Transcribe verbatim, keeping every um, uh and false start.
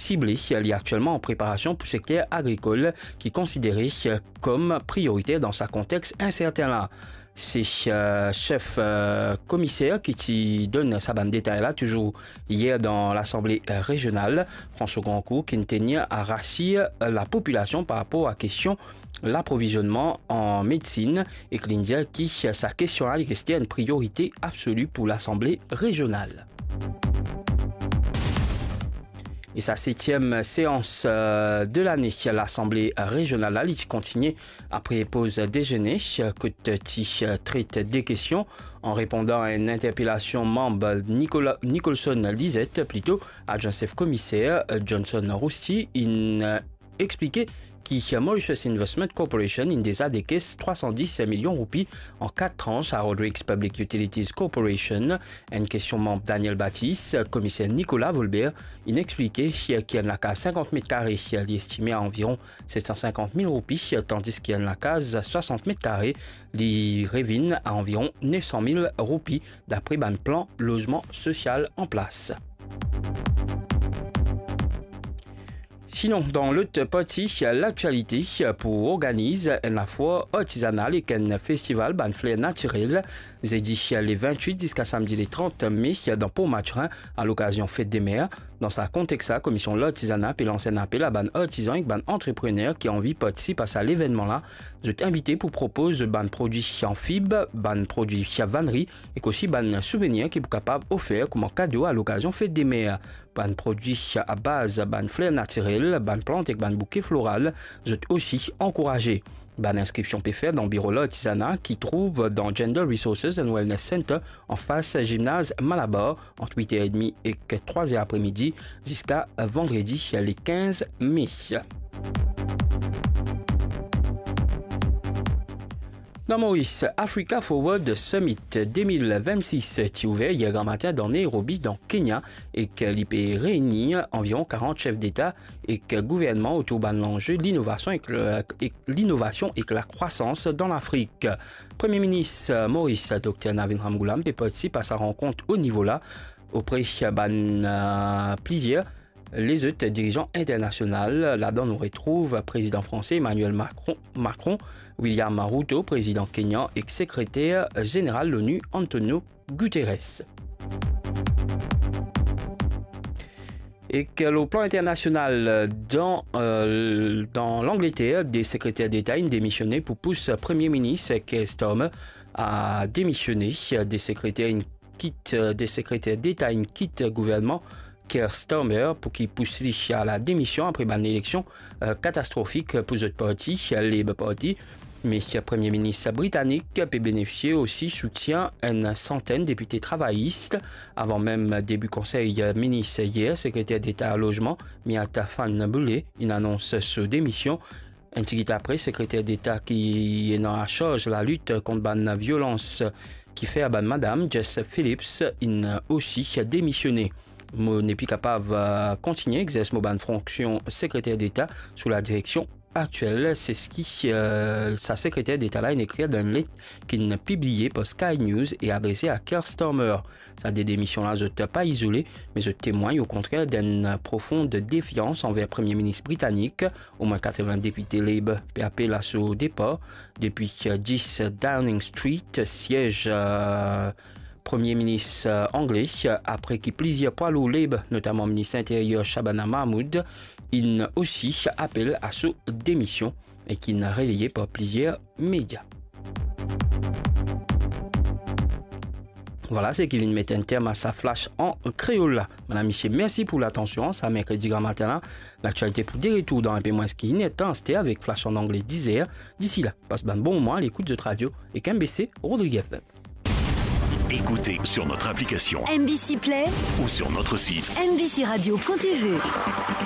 sible. Li aktielman an preparasion pou sekter agrikol ki konsidere kom prioriter dan sa kontex inserten la. Se, eh, sef, eh, komiser ki ti donn sa bann detay la, touzour yer dan Lasanble, eh, Rezional, François Grandcourt, ki inn tenir a rasir, eh, lapopilasion par rapor a kestion laprovizionman an medsin, ek li inn dir ki sa kestion la, li reste enn priorite absoli pou Lasanble Rezional. E sa setiem seans, eh, de lane, Lasanble Rezional la, li ti kontigne apre poz dezene, kot ti tret de kestion an repondan a enn interpelasion manm Nicolas, Nicholson Lisette, plito, adwin sef komiser, Johnson Rousty, inn explike ki Mauritius Investment Corporation inn deza dekes trwa san dis milion roupi an kat trans a Rodrigues Public Utilities Corporation. Enn kestion manm Daniel Baptiste, komiser Nicolas Volbert inn explike ki enn lakaz sinkant met kare, li estime a anviron set san sinkant mil roupi, tandis ki enn lakaz swasant met kare, li revinn a anviron nef san mil roupi, dapre bann plan lozman sosial an plas. Sinon, dan lot parti laktialite, pou organiz enn lafoir artizanal ek enn festival bann fler natirel, zedi le vintwit ziska samdi le trant me dan Port Mathurin, a lokazion Fet de Mer. Dan sa kontex la, Komision Lartizana pe lans enn apel a bann artizan ek bann antreprener ki anvi partisip a sa levennman la. Zot invite pou propoz bann prodwi an fib, bann prodwi vaneri, ek osi bann souvenir ki pou kapav ofer kouma kado a lokazion Fet de Mer. Bann prodwi a baz bann fler natirel, bann plant ek bann bouke floral, zot osi ankouraze. Bann inskripsion pe fer dan biro Lartizana ki trouv dan Gender Resources and Wellness Center, anfas zimnaz Malabar, ant wit er edmi ek trwa er apremidi, ziska vandredi le kinz me. Dan Moris, Africa Forward Summit de mil vennsis ti ouver yer gramatin dan Nairobi, dan Kenya, ek li pe reini anviron karant sef deta ek gouvernman otour bann lanze linovasion ek, ek linovasion ek lakrwasans dan Lafrik. Premie Minis Moris, Dokter Navin Ramgoolam, pe partisip a sa rankont o nivo la, opre bann, eh, plizier lezot dirizan internasional. Ladan nou retrouv Prezidan franse Emmanuel Macron, Macron, William Ruto, Prezidan kenyan, ek Sekreter Zeneral Lonu Antonio Guterres. Ek lor plan internasional, dan, eh, dan Langleter, de sekreter deta inn demisione pou pous Premie Minis Keir Starmer a demisione. De sekreter inn kit, de sekreter deta inn kit gouvernman Keir Starmer pou ki pous li a la demision apre bann eleksion, eh, katastrofik pou zot parti, Labour Party. Me Premie Minis britanik pe benefisie osi soutien enn santenn depite travayis. Avan mem debi konsey minis yer, sekreter deta lozman, Miatta Fahnbulleh, inn anons so demision. Enn tigit apre, sekreter deta ki ena lasarz lalit kont bann violans ki fer bann madam, Jess Phillips, inn osi demisione. Mo nepli kapav, eh, kontigne egzers mo bann fonksion sekreter deta sou ladireksion aktiel, se seki, eh, sa sekreter deta la inn ekrir dan enn let ki'nn pibliye par Sky News e adrese a Keir Starmer. Sa de demision la, zot pa izole, me zot temwagn okontrer d'enn profond defians anver Premie Minis britanik. Omwin katreven depite Labour pe apel a so depar depi, eh, dis Downing Street, siez, eh, Premie Minis, eh, angle, apre ki plizier pwa lour Labour, notaman Minis Linteryer Shabana Mahmood, inn osi apel a so demision e ki'nn relaye par plizier media. Vwala seki vinn met enn term a sa flash an kreol la. Madam, misie, mersi pou latansion. Sa merkredi gramatin la, laktialite pou de retour dan enpe mwins ki inertan aster avek flash an angle dizer. Disi la, pas bann bon moman a lekout zot radio ek M B C Rodrigues F M. Écoutez sur notre application M B C Play ou sur notre site M B C radio point T V.